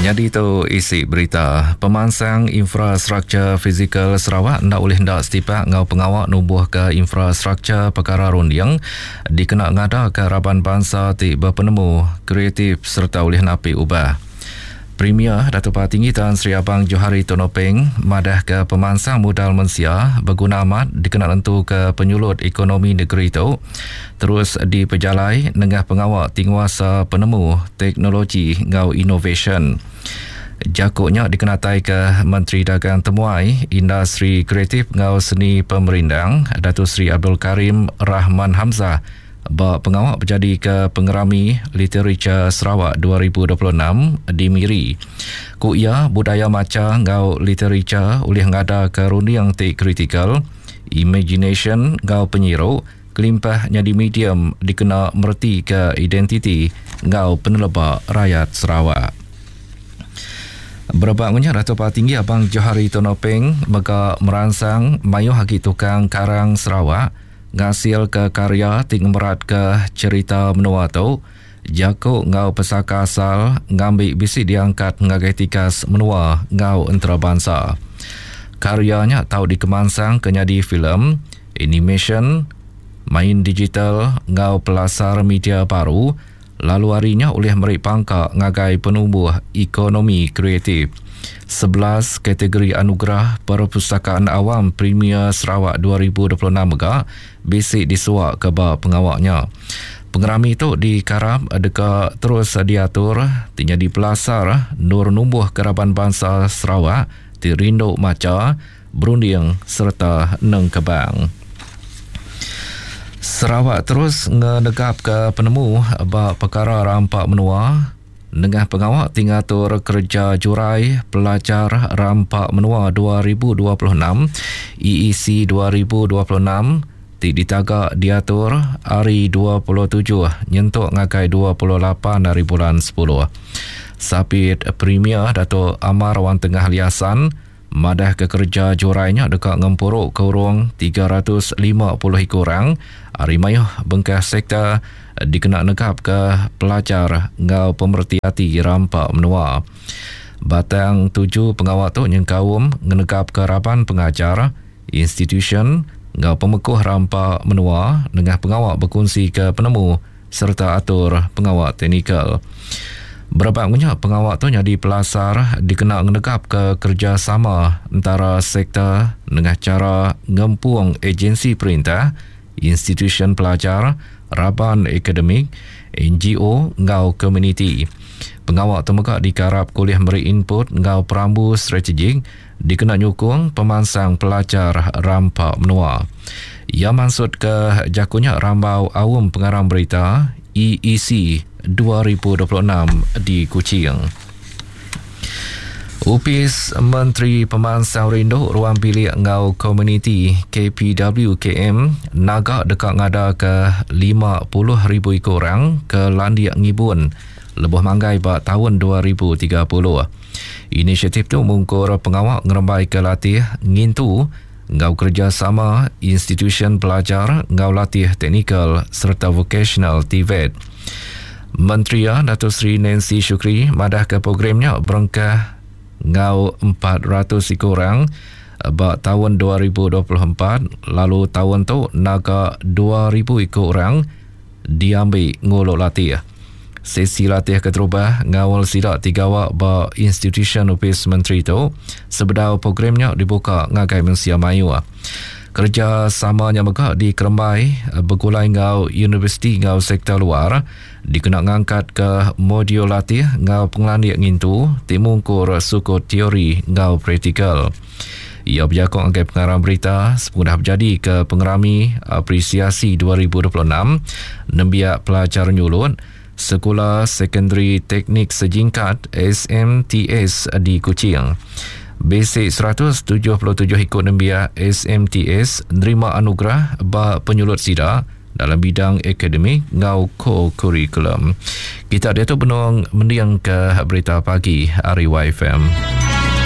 Nyadi tu isi berita. Pemansang infrastruktur fizikal Sarawak enda ulih enda setipak enggau pengawa numbuhka infrastruktur pekara runding dikena ngadaka raban bansa ti bepenemu, kreatif sereta ulih napi ubah. Premier Datuk Patinggi Tan Sri Abang Johari Tun Openg madahka pemansang mudal mensia beguna amat dikena nentuka penyulut ekonomi negeri tu terus dipejalai nengah pengawa ti nguasa penemu, teknologi enggau inovasyen. Jaku nya dikenataika Menteri Dagang Temuai, Industri Kreatif enggau Seni Pemerindang Datuk Seri Abdul Karim Rahman Hamzah ba pengawa bejadika Pengerami Litericha Sarawak 2026 di Miri. Ku iya, budaya macha enggau litericha ulih ngadaka runding ti kritikal, imaginasyen enggau penyiru kelimpah nyadi medium dikena meretika identiti enggau peneleba rayat Sarawak. Berebak ngunya Datuk Patinggi Abang Johari Tun Openg mega meransang mayuh agi tukang karang Sarawak ngasilka karya ti ngemeratka cherita menua tu, jaku enggau pesaka asal ngambi bisi diangkat ngagai tikas menua enggau entarabansa. Karya nya tau dikemansangka nyadi filem, animasyen, main digital enggau pelasar media baru lalu ari nya ulih meri pangka ngagai penumbuh ekonomi kreatif. 11 kategori Anugerah Perpustakaan Awam Premier Sarawak 2026 mega bisi disuaka ba pengawa nya. Pengerami tu dikarap deka terus diatur ti nyadi pelasar endur numbuhka raban bansa Sarawak ti rindu macha, berunding sereta nengkebang. Sarawak terus ngenegapka penemu ba pekara rampa menua nengah pengawa ti ngatur kereja jurai Pelajar Rampa Menua 2026, EEC 2026, ti ditaga diatur ari 27 nyentuk ngagai 28 ari bulan sepuluh. Sapit Premier Datuk Amar Wan Tengah Liasan, Madahka kereja jurai nya deka ngempuruka urung 350 iku orang ari mayuh bengkah sektor dikena negapka pelajar enggau pemereti ati rampa menua. Batang tuju pengawa tu nyengkaum ngenegapka raban pengajar, institusyen enggau pemekuh rampa menua nengah pengawa bekunsika penemu sereta atur pengawa teknikal. Berebak ngunya, pengawa tu nyadi pelasar dikena ngenegapka kerejasama entara sektor nengah chara ngempung ejensi perintah, institusyen pelajar, raban akademik, NGO enggau komuniti. Pengawa tu mega dikarapka ulih meri input enggau perambu strategik dikena nyukung pemansang pelajar rampa menua. Iya mansutka jaku nya rambau Aum Pengarang Berita, EEC, 2026 di Kuching. Opis Menteri Pemansang Rindu Ruang Bilik enggau Komuniti, KPWKM, naga deka ngadaka 50,000 iku orang ke landik ngibun lebuh manggai ba taun 2030. Inisiatif tu mungkur pengawa ngerembaika latih ngintu enggau kerejasama institusyen pelajar enggau latih teknikal sereta vokasional, TVET. Menteri iya, Dato Sri Nancy Shukri madahka program nya berengkah enggau 400 iku orang ba taun 2024 lalu taun tu naga 2000 iku orang diambi ngulu latih. Sesi latih keterubah ngaul sida ti gawa ba institusyen opis menteri tu sebedau program nya dibuka ngagai mensia mayuh. Kerejasama nya mega dikerembai begulai enggau universiti enggau sektor luar dikena ngangkatka modul latih enggau pengelandik ngintu ti mungkur sukut teori enggau praktikal. Iya bejaku ngagai pengarang berita sepengudah bejadika Pengerami Apresiasi 2026 Nembiak Pelajar Nyulut Sekula Sekondari Teknik Sejingkat, SMTS, di Kuching. Bisi 177 iku nembiak SMTS nerima anugerah ba penyulut sida dalam bidang akademik enggau kokurikulum. Kita diatu benung mendingka berita pagi ari YFM.